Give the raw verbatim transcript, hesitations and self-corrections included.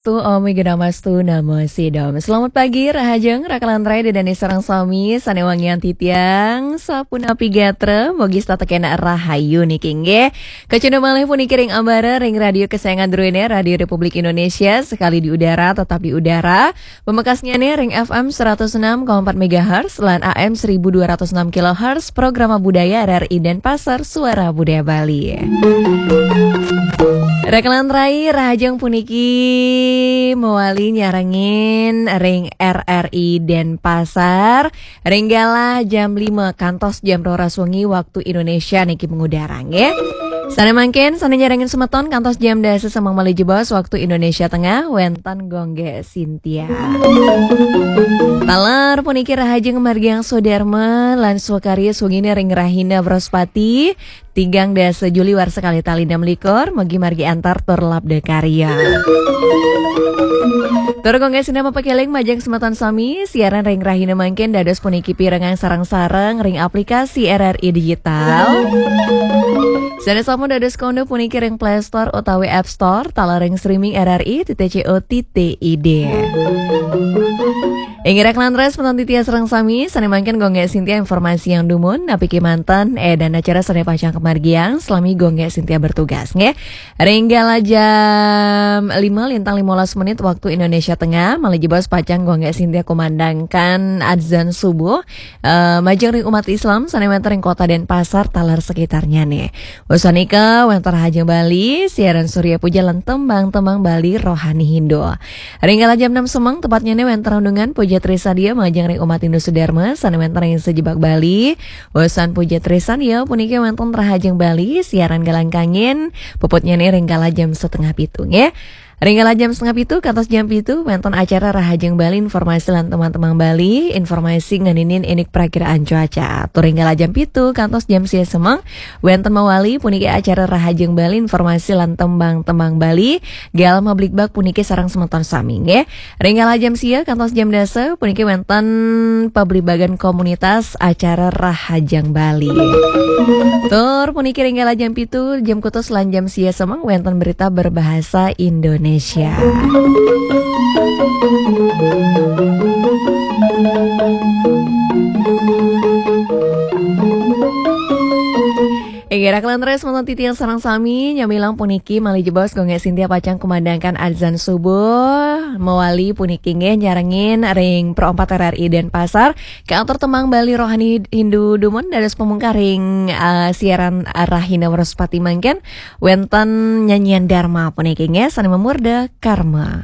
Tu Om Wignamastu Namo Sidom. Selamat pagi, Rahajeng, Rakalan Rai, Dedani sareng sami, sane wangian titiang, sapunapi gatra, mogi tetep kena rahayu niki nggih. Kacunda malih puniki ring ambara, ring radio kesayangan druene, Radio Republik Indonesia, sekali di udara, tetap di udara. Pamekasnyane ring F M seratus enam koma empat megahertz lan A M seribu dua ratus enam kilohertz, Programa Budaya R R I Denpasar, Suara Budaya Bali. Rakalan Rai, Rahajeng puniki mawali nyarengin ring R R I Denpasar, ring galah jam lima kantos jam roras wengi waktu Indonesia niki mengudara nggih. Sane mangkin, sane nyarengin semeton kantos jam dasa semeng malih jebos waktu Indonesia Tengah, wenten Gongge Sintia. Taler puniki Rahajeng margiang swadarma lan swakarya swengine ring Rahina Wraspati, tigang dasa Juli warsa kalih tali enam likur, mugi margi antar tur labda karya. Tur Gongge Sintia mapakeling majeng semeton sami, siaran ring Rahina mangkin dados puniki pirengang sareng-sareng ring aplikasi R R I Digital. Sane sampun dados kondo puniki ring Play Store utawi App Store, taler ring streaming R R I titik C O titik I D. Inggih rakalan rai, semeton titiang sareng sami, sane mangkin Gongge Sintia informasiang dumun, napi kemanten, eh, dan acara sane pacang kamargiang, selami Gongge Sintia bertugas, nggih. Ring galah jam lima lintang limolas menit waktu Indonesia Tengah, malih jebos pacang Gongge Sintia kumandangkan adzan subuh, eh, majeng ring umat Islam, sane wenten ring Kota Denpasar, taler sekitarnyane. Usan nika, wenten Rahajeng Bali, siaran Surya Puja lan tembang-tembang Bali rohani Hindu. Ring galah jam enam semeng, tepatnyane wenten renungan Puja Trisadia majeng ring umat Hindu Sudarma, sane wenten ring sejebag Bali. Usan Puja Trisadia, puniki wenten Rahajeng Bali, siaran galang kangin, puputnyane ring galah jam setengah pitu, nggih. Ring galah jam setengah pitu, kantos jam pitu, wenten acara Rahajeng Bali, informasi lan tembang-tembang Bali, informasi ngeninin indik prakiraan cuaca. Tur ring galah jam pitu, kantos jam sia semeng, wenten mawali, puniki acara Rahajeng Bali, informasi lan tembang-tembang Bali, galah mablikbak puniki sareng semeton sami, nggih. Ring galah jam sia, kantos jam dasa, puniki wenten pablibagan komunitas acara Rahajeng Bali. Tur puniki ring galah jam pitu, jam kutus lan jam sia semeng, wenten berita berbahasa Indonesia. Inggih rakalan rai, semeton titiang sareng sami, nyamilang puniki malih jebos Gongge Sintia pacang kumandangkan adzan subuh, mawali puniki nggih nyarengin ring Pro empat R R I Denpasar, katur tembang Bali rohani Hindu dumun, dados pamungkaring, eh, siaran Rahina Wraspati mangkin, wenten nyanyian Dharma puniki nggih, sane mamurda Karma.